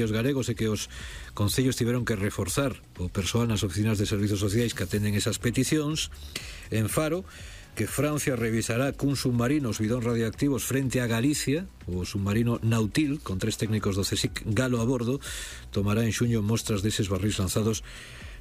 os galegos e que os concellos tiveron que reforzar o persoal nas oficinas de servizos sociais que atenden esas peticións. En Faro, que Francia revisará cun submarino os bidóns radioactivos frente a Galicia. O submarino Nautil, con 3 técnicos do CSIC galo a bordo, tomará en xuño mostras deses barrís lanzados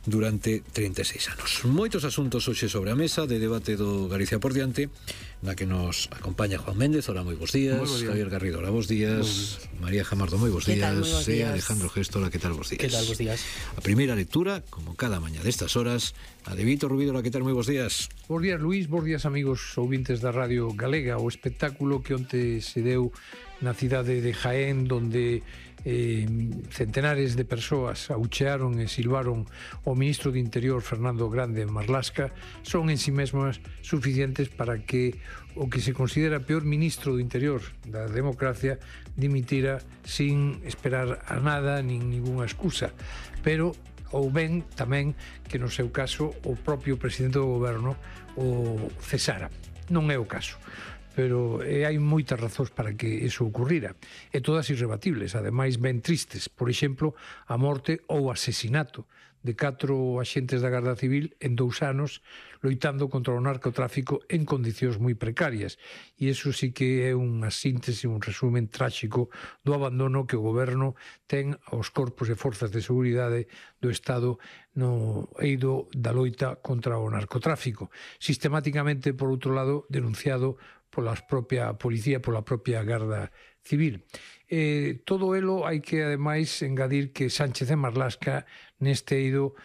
durante 36 anos. Moitos asuntos hoxe sobre a mesa de debate do Galicia por diante, na que nos acompaña Juan Méndez. Hola, moi bons días. Javier Garrido, hola, bons días. María Jamardo, moi bons días. E Alejandro Gesto, hola, que tal, bons días. Que tal, bons días. A primeira lectura, como cada mañá destas horas, a de Vítor Rubido, hola, que tal, moi bons días. Bons días, Luís, bons días, amigos ouvintes da Radio Galega. O espectáculo que onte se deu na cidade de Jaén, donde centenares de persoas auchearon e silbaron o ministro de Interior Fernando Grande Marlasca, son en si mesmas suficientes para que o que se considera peor ministro do Interior da democracia dimitira sin esperar a nada nin ninguna excusa. Pero ou ben tamén que no seu caso o propio presidente do goberno o cesara. Non é o caso, pero hai moitas razóns para que iso ocurrira, e todas irrebatibles, ademais ben tristes. Por exemplo, a morte ou asesinato de 4 axentes da Garda Civil en 2 anos loitando contra o narcotráfico en condicións moi precarias, e iso sí que é unha síntese, un resumen tráxico do abandono que o goberno ten aos corpos e forzas de seguridade do Estado no eido da loita contra o narcotráfico, sistemáticamente, por outro lado, denunciado pola propia policía, pola propia Garda Civil. Todo elo hai que, ademais, engadir que Sánchez e Marlasca neste eido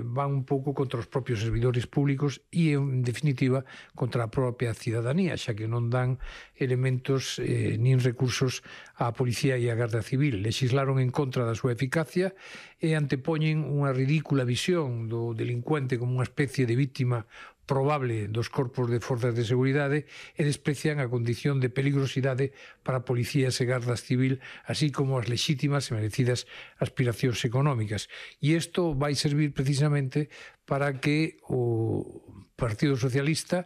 van un pouco contra os propios servidores públicos e, en definitiva, contra a propia cidadanía, xa que non dan elementos nin recursos á policía e á Garda Civil. Legislaron en contra da súa eficacia e antepoñen unha ridícula visión do delincuente como unha especie de víctima probable dos corpos de forzas de seguridade e desprecian a condición de peligrosidade para policías e gardas civil, así como as lexítimas e merecidas aspiracións económicas. E isto vai servir precisamente para que o Partido Socialista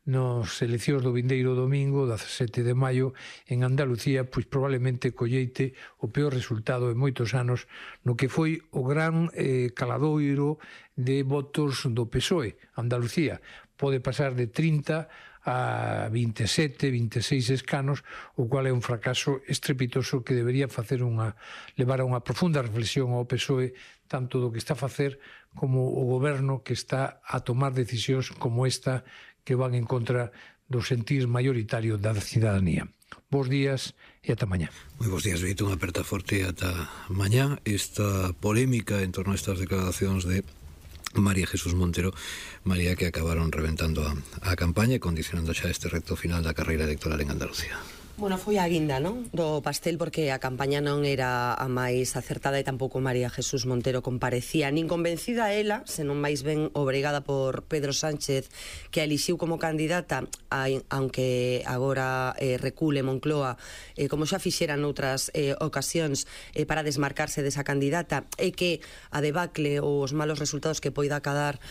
nos eleccións do vindeiro domingo, 17 de maio, en Andalucía, pois probablemente colleite o peor resultado en moitos anos no que foi o gran caladoiro de votos do PSOE. Andalucía pode pasar de 30 a 27, 26 escanos, o cual é un fracaso estrepitoso que debería levar a unha profunda reflexión ao PSOE, tanto do que está a facer como o goberno que está a tomar decisións como esta que van en contra do sentir mayoritario da cidadanía. Bos días e ata mañá. Moi bons días, Vito, unha aperta forte ata mañá. Esta polémica en torno a estas declaracións de María Jesús Montero, María, que acabaron reventando a campaña e condicionando xa este reto final da carreira electoral en Andalucía. Bueno, foi a guinda, non? Do pastel, porque a campaña non era a máis acertada e tampouco María Jesús Montero comparecía nin convencida ela, senón máis ben obrigada por Pedro Sánchez, que a elixiu como candidata, aunque agora recule Moncloa, como xa fixera noutras ocasións, para desmarcarse desa candidata, e que a debacle ou os malos resultados que poida acadar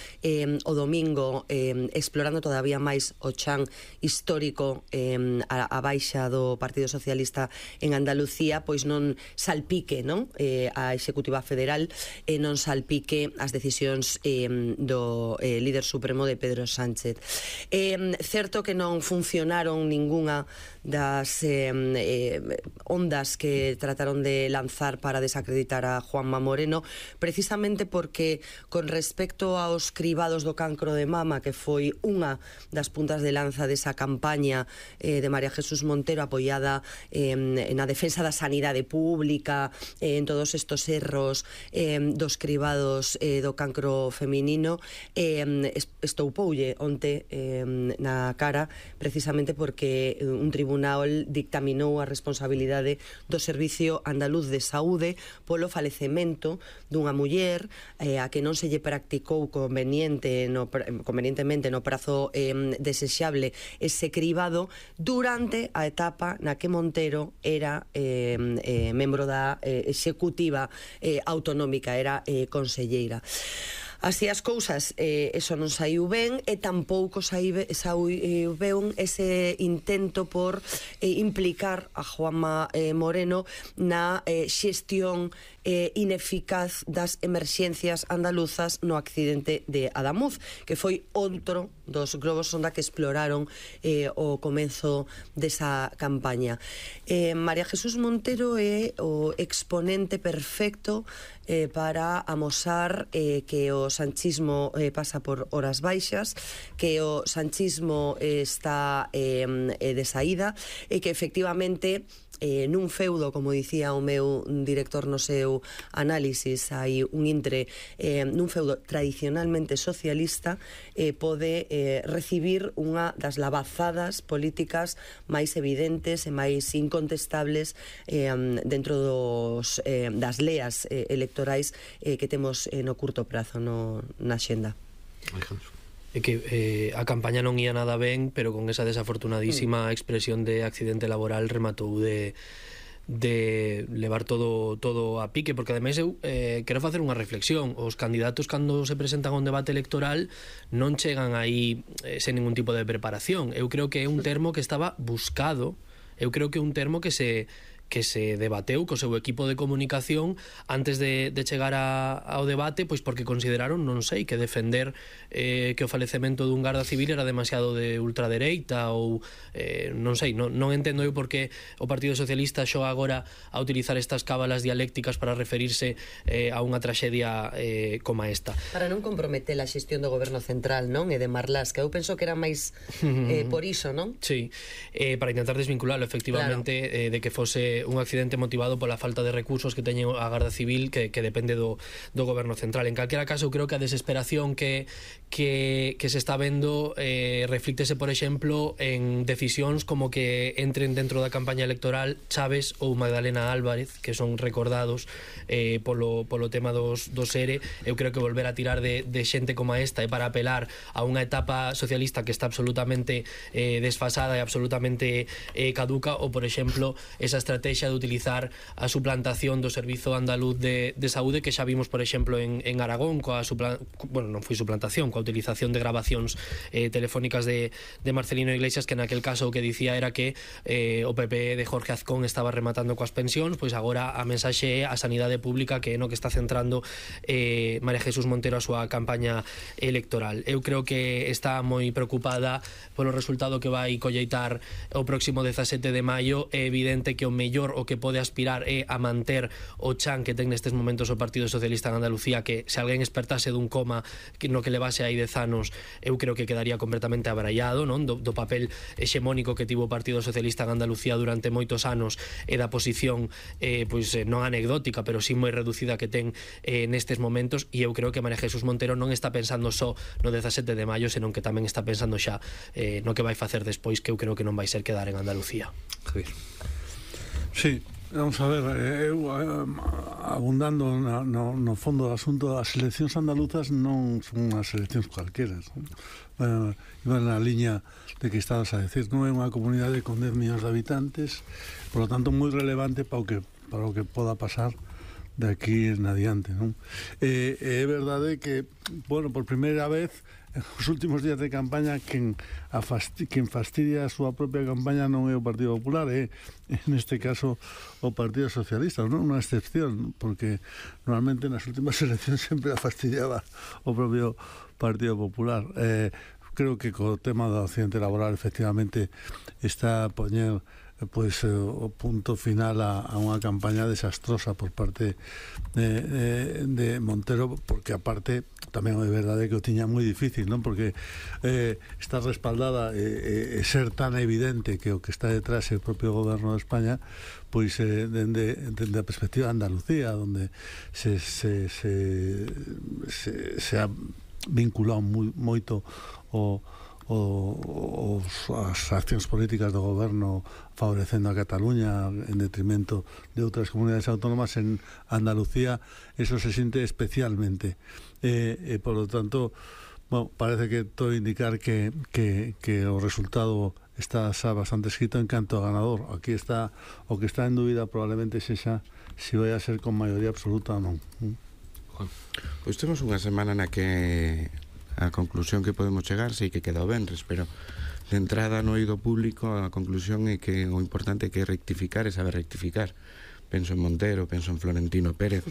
o domingo, explorando todavía máis o chan histórico a baixa do Partido Socialista en Andalucía, pois non salpique, non? A Executiva Federal e non salpique as decisións do líder supremo de Pedro Sánchez. Certo que non funcionaron ningunha das ondas que trataron de lanzar para desacreditar a Juanma Moreno, precisamente porque con respecto aos cribados do cancro de mama, que foi unha das puntas de lanza desa campaña de María Jesús Montero, apoiada na defensa da sanidade pública, en todos estos erros dos cribados do cancro feminino, estoupoulle onte na cara, precisamente porque un tribunal dictaminou a responsabilidade do Servicio Andaluz de Saúde polo falecemento dunha muller a que non se lle practicou convenientemente no prazo desexable ese cribado durante a etapa na que Montero era membro da Executiva Autonómica, era conselleira. Así as cousas, eso non saiu ben, e tampouco saiu ben ese intento por implicar a Juanma Moreno na xestión ineficaz das emerxencias andaluzas no accidente de Adamuz, que foi outro dos globos sonda que exploraron o comenzo desa campaña. María Jesús Montero é o exponente perfecto para amosar que o sanchismo pasa por horas baixas, que o sanchismo está de saída e que efectivamente nun feudo, como dicía o meu director no seu análisis, hai un intre nun feudo tradicionalmente socialista, pode recibir unha das lavazadas políticas máis evidentes e máis incontestables dentro das leas electorais que temos no curto prazo na xenda. É que a campaña non ia nada ben, pero con esa desafortunadísima expresión de accidente laboral rematou de levar todo a pique, porque ademais eu quero facer unha reflexión. Os candidatos, cando se presentan a un debate electoral, non chegan aí sen ningún tipo de preparación. Eu creo que é un termo que estaba buscado, eu creo que é un termo que se debateu co seu equipo de comunicación antes de chegar ao debate, pois porque consideraron, non sei, que defender que o falecemento dun garda civil era demasiado de ultradereita ou non sei, non entendo eu por que o Partido Socialista xoga agora a utilizar estas cábalas dialécticas para referirse a unha traxedia como esta. Para non comprometer a xestión do goberno central, non? E de Marlaska, que eu penso que era máis por iso, non? Sí, para intentar desvincularlo efectivamente, claro, de que fose un accidente motivado pola falta de recursos que teñe a Garda Civil que depende do goberno central. En calquera caso, eu creo que a desesperación que se está vendo reflíctese, por exemplo, en decisións como que entren dentro da campaña electoral Chaves ou Magdalena Álvarez, que son recordados polo tema dos ERE. Eu creo que volver a tirar de xente como esta é para apelar a unha etapa socialista que está absolutamente desfasada e absolutamente caduca, ou, por exemplo, esa estrategia de utilizar a suplantación do Servizo Andaluz de Saúde, que xa vimos, por exemplo, en Aragón, non foi suplantación, coa utilización de grabacións telefónicas de Marcelino Iglesias, que naquel caso o que dicía era que o PP de Jorge Azcón estaba rematando coas pensións. Pois agora a mensaxe é a sanidade pública, que é no que está centrando María Jesús Montero a súa campaña electoral. Eu creo que está moi preocupada polo resultado que vai colleitar o próximo 17 de maio. É evidente que o mellor o que pode aspirar é a manter o chan que ten nestes momentos o Partido Socialista en Andalucía, que se alguén espertase dun coma no que levase aí 10 anos, eu creo que quedaría completamente abraiado, non? Do papel hexemónico que tivo o Partido Socialista en Andalucía durante moitos anos e da posición pois non anecdótica, pero sí moi reducida que ten nestes momentos. E eu creo que María Jesús Montero non está pensando só no 17 de maio, senón que tamén está pensando xa no que vai facer despois, que eu creo que non vai ser quedar en Andalucía. Javier. Sí, vamos a ver, eu abundando no fondo do asunto, as eleccións andaluzas non son as eleccións cualqueras, iban na liña de que estabas a decir, non é unha comunidade con 10 millóns de habitantes, por lo tanto moi relevante para o que poda pasar de aquí en adiante, non? É verdade que, bueno, por primeira vez os últimos días de campaña quen fastidia a súa propia campaña non é o Partido Popular, é neste caso o Partido Socialista, non unha excepción, porque normalmente nas últimas eleccións sempre a fastidiaba o propio Partido Popular. Creo que co tema do accidente laboral efectivamente está a poñer pois o punto final a unha campaña desastrosa por parte de Montero, porque aparte tamén é verdade que o tiña moi difícil, non? Porque está respaldada e ser tan evidente que o que está detrás é o propio goberno de España, pois dende a perspectiva de Andalucía, onde se ha vinculado moito as accións políticas do goberno favorecendo a Cataluña en detrimento de outras comunidades autónomas. En Andalucía eso se siente especialmente e por lo tanto, bueno, parece que todo indicar que o resultado está xa bastante escrito en canto a ganador. Aquí está o que está en dúbida probablemente sexa se vai a ser con maioría absoluta ou non. Pois temos unha semana na que a conclusión que podemos chegar sei que queda o venres, pero de entrada no eido público a conclusión é que o importante é que rectificar e saber rectificar. Penso en Montero, penso en Florentino Pérez,